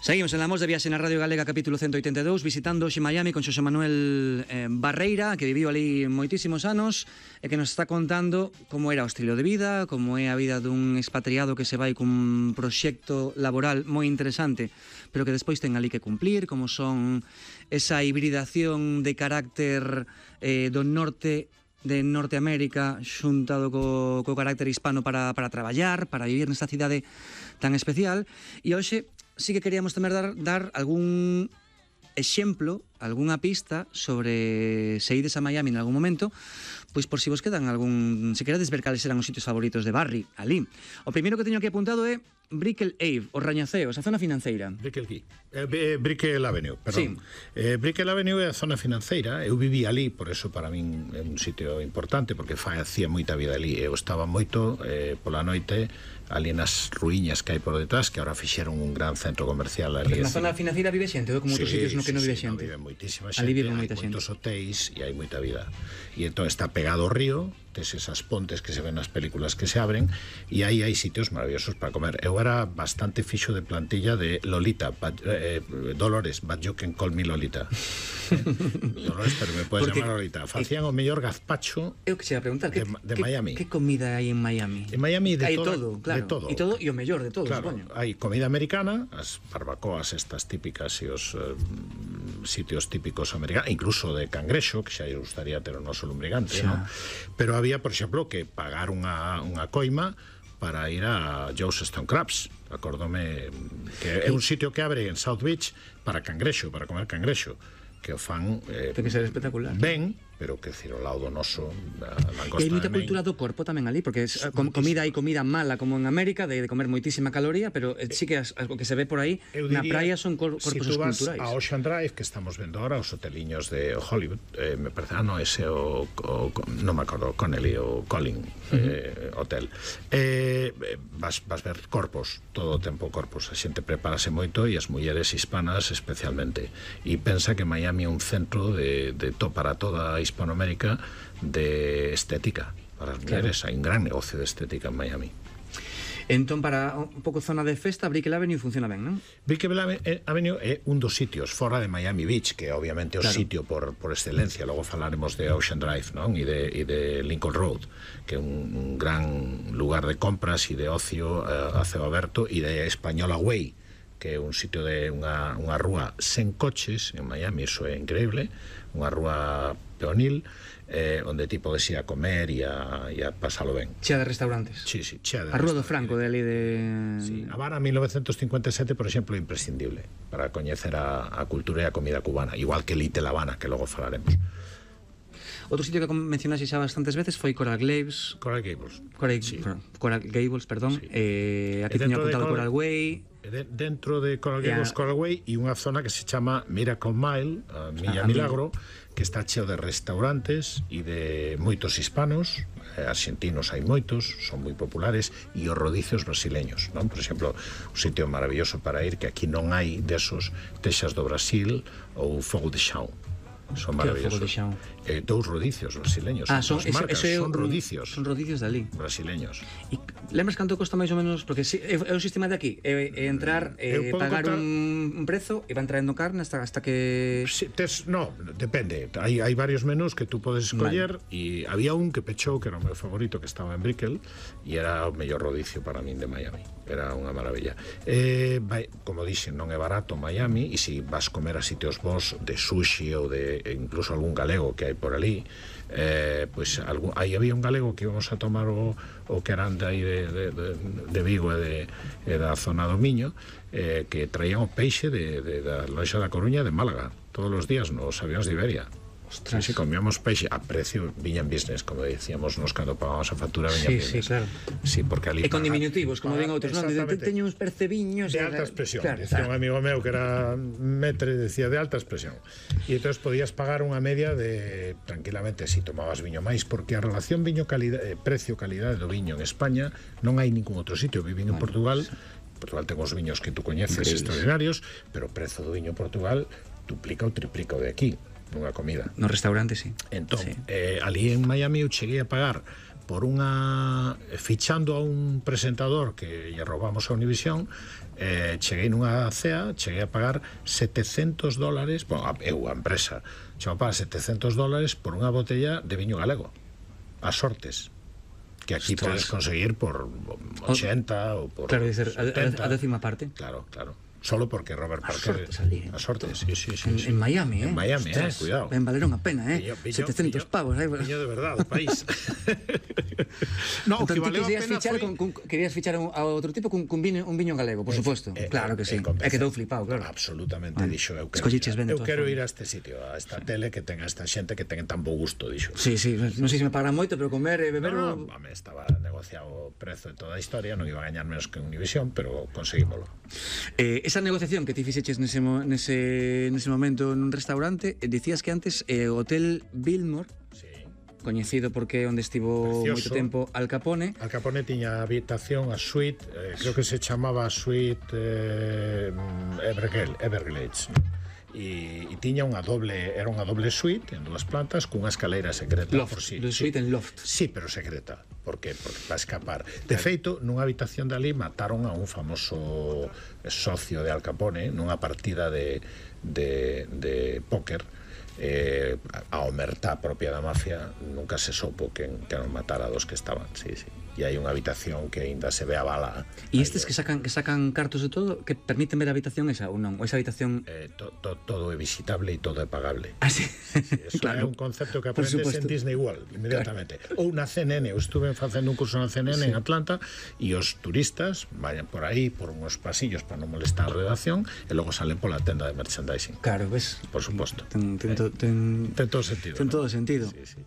Seguimos en La Mos de Viaxe na Radio Galega, capítulo 182, visitando hoxe Miami con Xosé Manuel Barreira, que viviu ali moitísimos anos e que nos está contando como era o estilo de vida, como é a vida dun expatriado que se vai cun proxecto laboral moi interesante, pero que despois ten ali que cumplir, como son esa hibridación de carácter do norte de Norteamérica xuntado co carácter hispano para traballar, para vivir nesta cidade tan especial. E hoxe sí que queríamos tamén dar algún exemplo, algunha pista sobre se ides a Miami en algún momento, pois por si vos quedan algún, se queredes ver cales eran os sitios favoritos de Barry ali. O primeiro que teño aquí apuntado é Brickell Ave, os rañaceos, a zona financeira. Brickell Avenue, perdón. Sí. Brickell Avenue é a zona financeira. Eu viví ali, por eso para min é un sitio importante, porque facía moita vida ali. Eu estaba moito pola noite ali nas ruíñas que hai por detrás, que agora fixeron un gran centro comercial ali. Porque na zona financiera vive xente, ou como outros sitios no que non vive xente? Vive moitísima xente, ali vive moita xente. Moitos hotéis e hai moita vida. E entón está pegado ao río, tes esas pontes que se ven nas películas que se abren, e aí hai sitios maravillosos para comer. Eu era bastante fixo de plantilla de Lolita, Dolores, but you can call me Lolita. Dolores, pero me puedes llamar Lolita. Facían o mellor gazpacho eu que se ia preguntar, de Miami. Que comida hai en Miami? En Miami hai todo, claro. De todo. E todo, e o mellor de todo, claro, supoño. Hai comida americana, as barbacoas estas típicas e os sitios típicos americanos, incluso de cangrexo, que xa gustaría ter o noso lumbrigante, ¿no? Pero había, por exemplo, que pagar unha coima para ir a Joe's Stone Crabs. Acórdome que é un sitio que abre en South Beach para cangrexo, para comer cangrexo, que o fan ten que ser espectacular. Ben, pero que decir, o lado do noso e hai moita cultura do corpo tamén ali, porque comida hai comida mala como en América, de comer moitísima caloría, pero sí que o que se ve por aí na praia son corpos esculturais. Si tú vas a Ocean Drive, que estamos vendo ahora, os hoteliños de Hollywood, me parece, ese non me acordo, Connelly ou Colin hotel, vas ver corpos, todo o tempo corpos, a xente prepárase moito e as mulleres hispanas especialmente, e pensa que Miami é un centro para toda a Hispanoamérica de estética para as mulleres. Hai un gran negocio de estética en Miami. Entón, para un pouco zona de festa, Brickell Avenue funciona ben, non? Brickell Avenue é un dos sitios fora de Miami Beach, que obviamente é o sitio por excelencia. Logo falaremos de Ocean Drive, non? E de Lincoln Road, que é un gran lugar de compras e de ocio a ceo aberto, e de Española Way, que é un sitio de unha rúa sen coches en Miami. Iso é increíble, unha rúa peonil, onde ti podes ir a comer e a pasalo ben. Chea de restaurantes. Sí, chea de a Rúa do Franco, de ali de... Sí, a Habana 1957, por exemplo, é imprescindible para coñecer a cultura e a comida cubana, igual que Little Habana, que logo falaremos. Outro sitio que mencionaste xa bastantes veces foi Coral Gables. Coral Gables, perdón. Sí. Aquí teño apuntado Coral Way. Dentro de Coral Gables, Coral Way, e unha zona que se chama Miracle Mile, a Milla Milagro, que está cheo de restaurantes e de moitos hispanos, argentinos hai moitos, son moi populares, e os rodicios brasileños, non? Por exemplo, un sitio maravilloso para ir, que aquí non hai desos, Texas do Brasil ou Fogo de Chão. Son maravillosos. Dous rodicios brasileños. Son rodicios. Son rodicios dali. Brasileños. E lembras canto costa máis ou menos? Porque é o sistema de aquí, é entrar, pagar un prezo e van traendo carne hasta que... No, depende. Hai varios menús que tú podes escoller, e había un que pechou, que era o meu favorito, que estaba en Brickell, e era o mellor rodicio para min de Miami. Era unha maravilla. Como dixen, non é barato Miami, e se vas comer a sitios bons de sushi ou de incluso algún galego que hai por ali, pois aí había un galego que íbamos a tomar o que eran de aí de Vigo e da zona do Miño, que traían o peixe da loxa da Coruña de Málaga todos os días nos avións de Iberia. Ostras. Sí, comíamos peixe a precio viña en business, como decíamos nos cando pagábamos a factura viña en business. Sí, claro. Sí, porque ali... E con diminutivos, como ven outros, non? Teño uns percebiños... De alta expresión. Claro, decía un amigo meu que era metre, decía de alta expresión. E entón podías pagar unha media de, tranquilamente, si tomabas viño máis, porque a relación precio-calidade do viño en España non hai ningún outro sitio. Vivín en Portugal. Portugal ten os viños que tú coñeces extraordinarios, pero o prezo do viño en Portugal duplica ou triplica o de aquí. nunha comida. No restaurante, sí. Entón, sí. ali en Miami eu cheguei a pagar por unha... fichando a un presentador que lle roubamos a Univisión, cheguei nunha cea, cheguei a pagar $700, bueno, eu, a empresa, cheguei a pagar $700 por unha botella de viño galego, a sortes, que aquí podes conseguir por 80 ou por claro, dicer, 70. a décima parte. Claro, claro. Solo porque Robert Parker... A sortes, sí. En Miami, En Miami, cuidado. Ben valeron a pena, Pillo, 700 pavos. Viño de verdad, do país. No, entón, que valeu a pena fichar foi... querías fichar a outro tipo un viño galego, por suposto. Claro que sí. É que dou flipado, claro. Absolutamente, dixo. Eu quero ir a este sitio, a esta tele que tenga esta xente que ten tan bo gusto, dixo. Sí, non sei se me pagarán moito, pero comer e beber... No, estaba negociado o prezo de toda a historia, non iba a gañar menos que Univisión, pero conseguímolo. Esa negociación que ti fixeches nese momento nun restaurante, dicías que antes o Hotel Biltmore, sí, coñecido porque é onde estivo moito tempo Al Capone. Al Capone tiña habitación, a suite, creo que se chamaba suite Everglades, e tiña era unha doble suite en dúas plantas cunha escalera secreta loft, por si. Suite en loft. Sí, pero secreta, porque para escapar. De feito, nunha habitación de ali mataron a un famoso socio de Al Capone nunha partida de póker. A omertá propia da mafia nunca se sopo que non matara a dos que estaban, sí. E hai unha habitación que aínda se ve a bala. E estes que sacan cartos de todo, que permiten ver a habitación esa ou non? Ou esa habitación... Todo é visitable e todo é pagable. Ah, sí? Eso claro. É un concepto que aprendes en Disney World inmediatamente. Claro. Ou na CNN, eu estuve facendo un curso na CNN en Atlanta, e os turistas vayan por aí, por uns pasillos para non molestar a redacción, e logo salen pola tenda de merchandising. Claro, ves? Por suposto. Ten todo sentido. Ten todo sentido. Sí.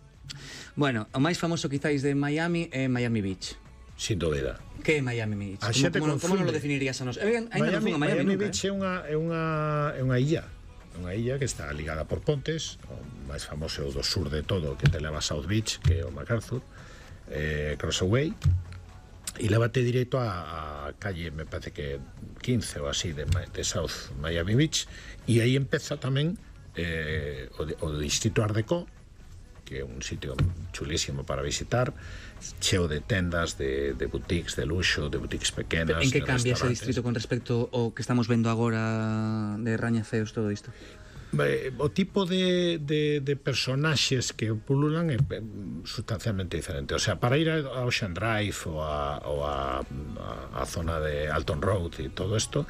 Bueno, o máis famoso quizáis de Miami é Miami Beach. Sin dúbida. Que é Miami Beach? Como non lo definirías a nos? Miami Beach é unha illa. Unha illa que está ligada por pontes. O máis famoso é o do sur de todo, que te leva a South Beach, que é o MacArthur, Crossaway, e lévate directo a calle, me parece que 15 ou así, de South Miami Beach, e aí empeza tamén o distrito Art Deco, que é un sitio chulísimo para visitar, cheo de tendas, de boutiques de luxo, de boutiques pequenas. En que cambia ese distrito con respecto ao que estamos vendo agora de rañaceos, todo isto? O tipo de personaxes que pululan é sustancialmente diferente. O sea, para ir a Ocean Drive ou a zona de Alton Road e todo isto,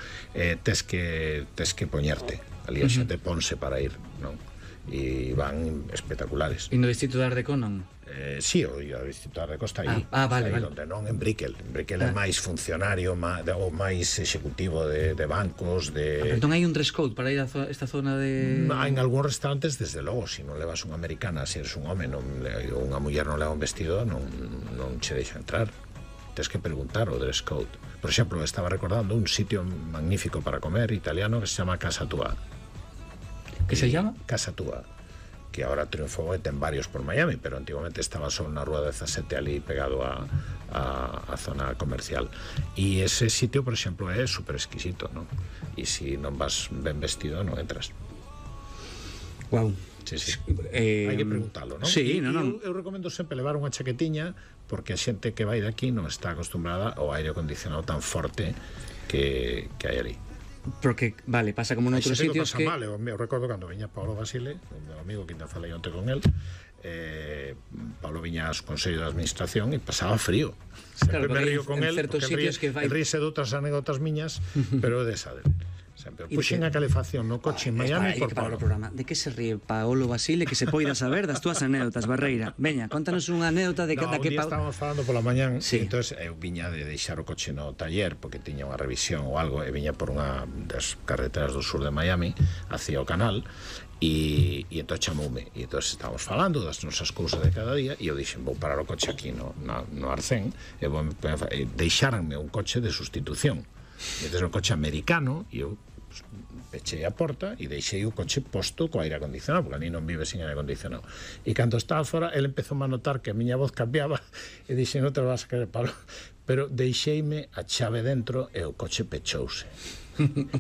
tes que poñerte. Ali a xente ponse para ir, non? E van espectaculares. E no distrito de Art Deco non? Sí, o distrito de Art Deco está aí. Vale. Onde non en Brickell. Brickell é máis funcionario ou máis executivo de bancos, de... Entón hai un dress code para ir a esta zona de... En algúns restaurantes, desde logo, se non levas unha americana, se eres un home ou unha muller non leva un vestido, non che deixa entrar. Tens que preguntar o dress code. Por exemplo, estaba recordando un sitio magnífico para comer italiano que se chama Casa Tua. Que se llama? Casa Tua, que ahora triunfou e ten varios por Miami, pero antiguamente estaba só na rúa 17 ali pegado a zona comercial. E ese sitio, por exemplo, é super exquisito, non? E se non vas ben vestido, non entras. Guau. Sí. Hai que preguntalo, non? Sí, non. Eu recomendo sempre levar unha chaquetiña, porque a xente que vai de aquí non está acostumbrada ao aire acondicionado tan forte que hai ali. Porque, vale, pasa como noutros sitios que... Mal, eu recordo cando viña Paulo Basile, o meu amigo que ainda falei onte con el, Paulo viña aos consellos de administración e pasaba frío. Sempre me río con el, porque el ríse de outras anécdotas miñas, pero de esa del. Sempre puxen a calefacción no coche en Miami por Paulo. De que se ríe Paolo Basile que se poida saber das túas anécdotas, Barreira? Veña, contanos unha anécdota de que... Un día estábamos falando pola mañán, e entón eu viña de deixar o coche no taller porque tiña unha revisión ou algo, e viña por unha das carreteras do sur de Miami hacia o canal, e entón chamoume, e entón estábamos falando das nosas cousas de cada día, e eu dixen, vou parar o coche aquí no Arcén, e deixaranme un coche de sustitución. E entón un coche americano, e eu pechei a porta e deixei o coche posto co aire acondicionado, porque ali non vive sin aire acondicionado. E cando estaba fora, ele empezou a notar que a miña voz cambiaba, e dixen, non te vas a querer, Pablo, pero deixeime a chave dentro e o coche pechouse.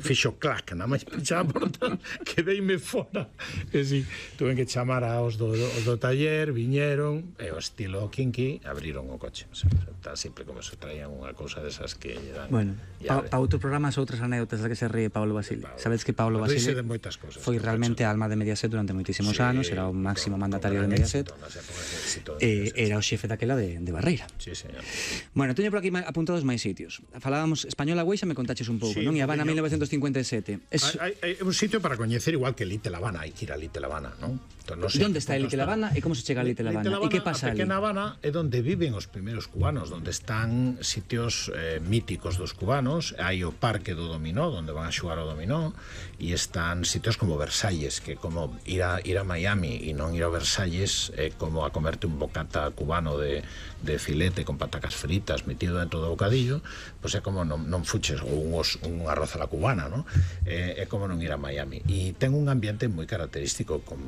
fixo clac, nada máis pechar a porta, quedeime fora. E si, tuve que chamar aos do taller, viñeron, e o estilo kinky, abriron o coche. O sea, está sempre como se traían unha cousa desas que lle dan. Bueno, pa outro programa, outras anécdotas da que se ríe Pablo Basile. Sabedes que Pablo Basile foi realmente a alma de Mediaset durante moitísimos anos, era o máximo mandatario de Mediaset, era o xefe daquela de Barreira. Sí, señor. Bueno, teño por aquí apuntados máis sitios. Falábamos Española Güeixa, me contaches un pouco, non? E Habana 1957. É un sitio para coñecer igual que Little Habana, hai que ir a Little Habana, non? No sé, onde está Little Habana e como se chega a Little Habana? E que pasa ali? A pequena Habana é onde viven os primeiros cubanos, onde están sitios míticos dos cubanos, hai o Parque do Dominó, onde van a xogar o dominó, e están sitios como Versalles, que como ir a Miami e non ir a Versalles é como a comerte un bocata cubano de filete con patacas fritas metido dentro do bocadillo, pois é como non fuches ou un arroz a la cubana, non? É como non ir a Miami. E ten un ambiente moi característico con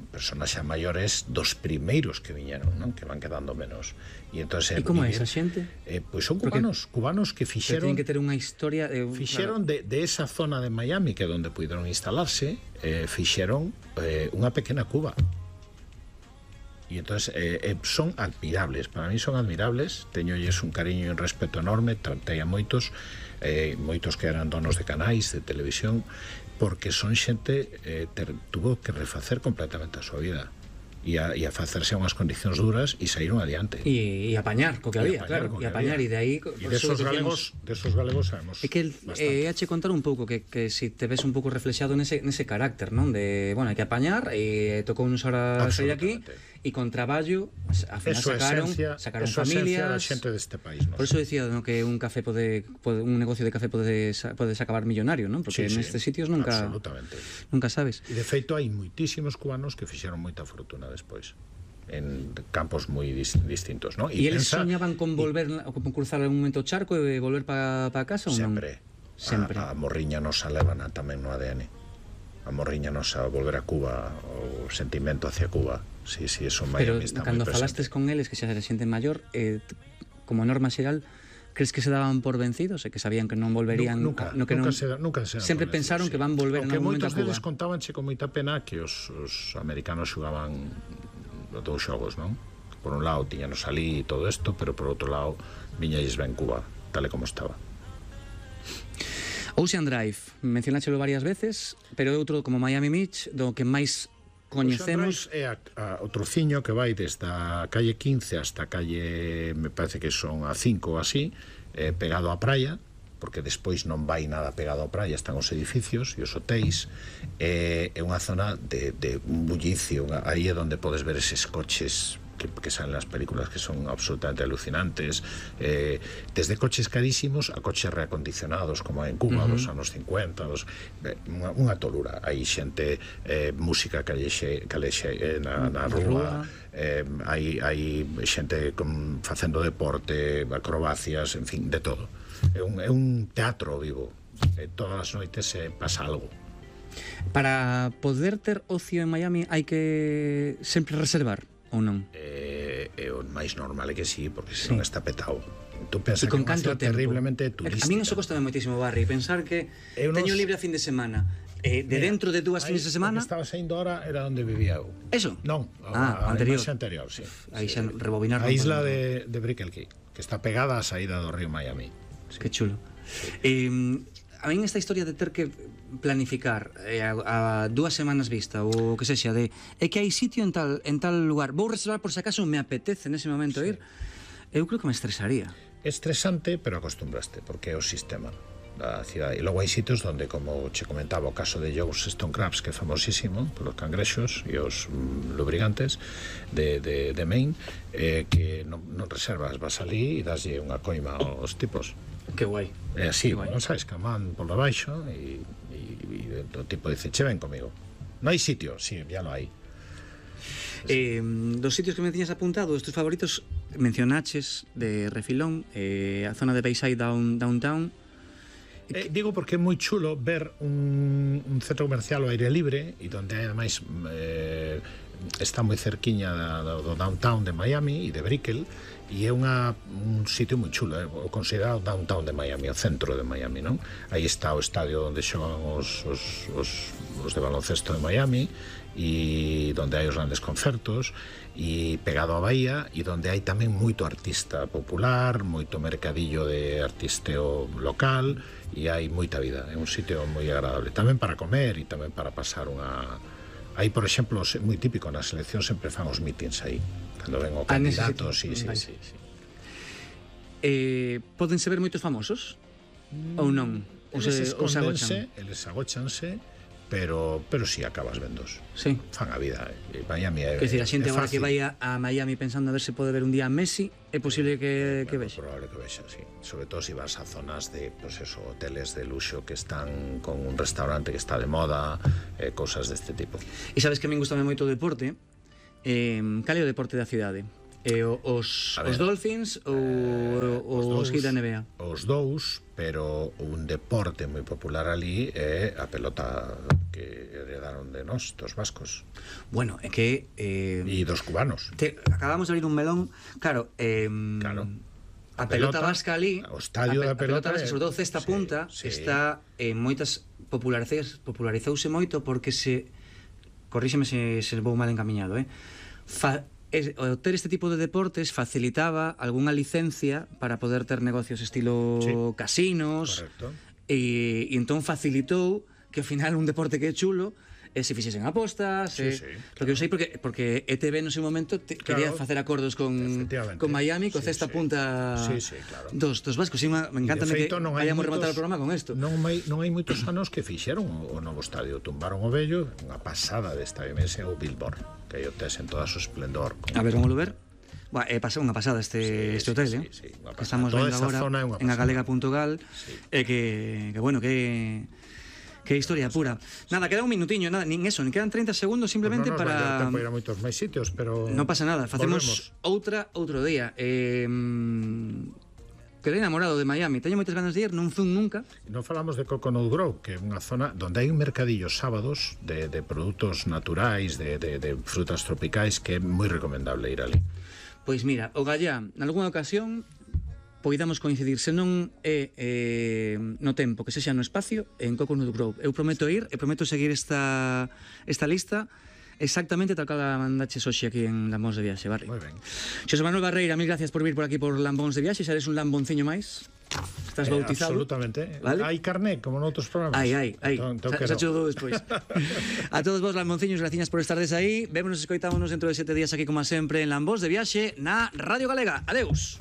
personas xa maiores dos primeiros que viñeron, non? Que van quedando menos. E entonces como é esa xente? Pois son cubanos que fixeron... Que tienen que ter unha historia... Fixeron de esa zona de Miami, que é onde puderon instalarse, fixeron unha pequena Cuba. E entonces son admirables, para mí son admirables, teñolles un cariño e un respeto enorme, tratei a moitos que eran donos de canais de televisión, porque son xente tuvo que refacer completamente a súa vida e a facerse a unhas condicións duras e saíron adiante e apañar co que había, claro, e apañar, e de aí desos galegos sabemos. É que hache contar un pouco que si te ves un pouco reflexado nese carácter, non? De, bueno, hai que apañar, e tocou uns horas sair aquí, e con traballo ao final sacaron familias, da xente deste país, non? Por eso decía, ¿no?, que un negocio de café podes acabar millonario, non? Porque nestes sitios nunca sabes. E de feito hai moitísimos cubanos que fixeron moita fortuna despois en campos moi distintos, non? E eles soñaban con volver, con cruzar algún momento o charco e volver para casa ou non? Sempre. A morriña nosa levana tamén no ADN. A morriña nosa volver a Cuba, o sentimento hacia Cuba. Sí, eso en Miami está moi presente. Pero cando falastes con eles, que xa era xente maior, como norma xeral, crees que se daban por vencidos e que sabían que non volverían? Nunca se sempre pensaron que van volver en algún momento a Cuba. Moitos deles contábanche con moita pena que os americanos xugaban dous xogos, non? Por un lado tiñanos ali e todo isto, pero por outro lado viñalles ben Cuba, tal e como estaba. Ocean Drive, mencionáchelo varias veces, pero é outro como Miami Beach, do que máis coñecemos. É o trociño que vai desde a calle 15 hasta a calle, me parece que son a 5 ou así, pegado á praia, porque despois non vai nada pegado á praia, están os edificios e os hotéis. É unha zona de un bullicio, aí é onde podes ver eses coches que salen nas películas, que son absolutamente alucinantes, desde coches carísimos a coches reacondicionados como en Cuba dos anos 50, unha tolura. Hai xente, música calexe na rúa, hai xente facendo deporte, acrobacias, en fin, de todo. É un teatro vivo, todas as noites pasa algo. Para poder ter ocio en Miami hai que sempre reservar ou non? É o máis normal é que sí, porque se non está petado. Tú pensas que é terriblemente turística. A mí eso costame moitísimo, Barry, pensar que teño libre a fin de semana, de dentro de 2 fines de semana. O que estaba saindo ahora era onde vivía eu. Eso? Non, a anterior, sí. Aí xa rebobinar. A isla de Brickell Key, que está pegada á saída do río Miami. Que chulo. A min esta historia de ter que planificar a 2 semanas vista ou que sexa de que hai sitio en tal lugar, vou reservar por se acaso me apetece nese momento ir, eu creo que me estresaría. É estresante, pero acostumbraste, porque é o sistema da cidade. E logo hai sitios onde, como che comentaba o caso de Joe's Stone Crabs, que é famosísimo polos cangrexos e os lubrigantes de Maine, que non reservas, vas ali e daslle unha coima aos tipos. Que guai. É así, non sabes, que man por debaixo e o tipo dice, che ven comigo. Non hai sitio, sí, ya lo hai. Dos sitios que me tiñas apuntado, estes favoritos, mencionaches de refilón, a zona de Bayside Downtown. Digo porque é moi chulo ver un centro comercial ao aire libre e donde ademais está moi cerquiña do downtown de Miami e de Brickell, E é un sitio moi chulo, o considerado downtown de Miami, o centro de Miami, non? Aí está o estadio onde xogan os de baloncesto de Miami, e onde hai os grandes concertos, e pegado á bahía, e onde hai tamén moito artista popular, moito mercadillo de artisteo local, e hai moita vida. É un sitio moi agradable, tamén para comer e tamén para pasar unha... Aí, por exemplo, moi típico, na selección sempre fan os meetings aí, cando ven o candidato, sí. Pódense ver moitos famosos? Ou non? Eles agóchanse, pero si acabas vendos. Sí. Fan a vida. Miami é quer dicir, a xente agora que fácil. vai a Miami pensando a ver se pode ver un día a Messi, é posible que vexa. É probable que vexa, sí. Sobre todo se vas a zonas de, pues eso, hoteles de luxo que están con un restaurante que está de moda, cousas deste tipo. E sabes que a min gustame moito o deporte? Cal é o deporte da cidade? Os Dolphins ou os Heat da NBA? Os dous, pero un deporte moi popular ali é a pelota que heredaron de nós, dos vascos. Bueno, é que... E dos cubanos. Acabamos de abrir un melón, claro, claro. A pelota vasca ali, o estadio da pelota vasca, sobre todo cesta punta, está en moitas popularizouse moito porque corríxeme se vou mal encamiñado, o ter este tipo de deportes facilitaba algunha licencia para poder ter negocios estilo casinos. Correcto. E entón facilitou que ao final un deporte que é chulo se fixesen apostas, porque eu sei porque ETV no seu momento quería facer acordos con Miami, co cesta punta dos vascos. Me encanta que vayamos rematar o programa con isto. Non hai moitos anos que fixeron o novo estadio, tumbaron o vello, unha pasada de estadio ese o Billboard, que aí o tes en toda a súa esplendor. A ver, vamos a ver. Pasou unha pasada este hotel, que estamos vendo agora en agalega.gal, que bueno, que historia pura. Nada, queda un minutiño, nada, nin eso, nin quedan 30 segundos simplemente para... Non nos vai dar tempo ir a moitos máis sitios, pero... Non pasa nada, facemos outro día. Quedei enamorado de Miami, teño moitas ganas de ir, non fun nunca. Non falamos de Coconut Grove, que é unha zona onde hai un mercadillo sábados de produtos naturais, de frutas tropicais, que é moi recomendable ir ali. Pois mira, o Gallá, nalgúna ocasión poidamos coincidir, se non é no tempo, que sexa no espacio, en Coconut Grove. Eu prometo ir, e prometo seguir esta lista exactamente tal cal a mandaches hoxe aquí en Lambóns de Viaxe, vale? Moi ben. Xosé Manuel Barreira, mil gracias por vir por aquí por Lambóns de Viaxe, xa eres un lambonciño máis. Estás bautizado. Absolutamente. ¿Vale? Hai carné, como noutros programas. Hai. Xa chudo despois. A todos vos, lambonciños, gracias por estardes aí. Vémonos e escoitámonos dentro de 7 días aquí, como sempre, en Lambóns de Viaxe, na Radio Galega. Adeus.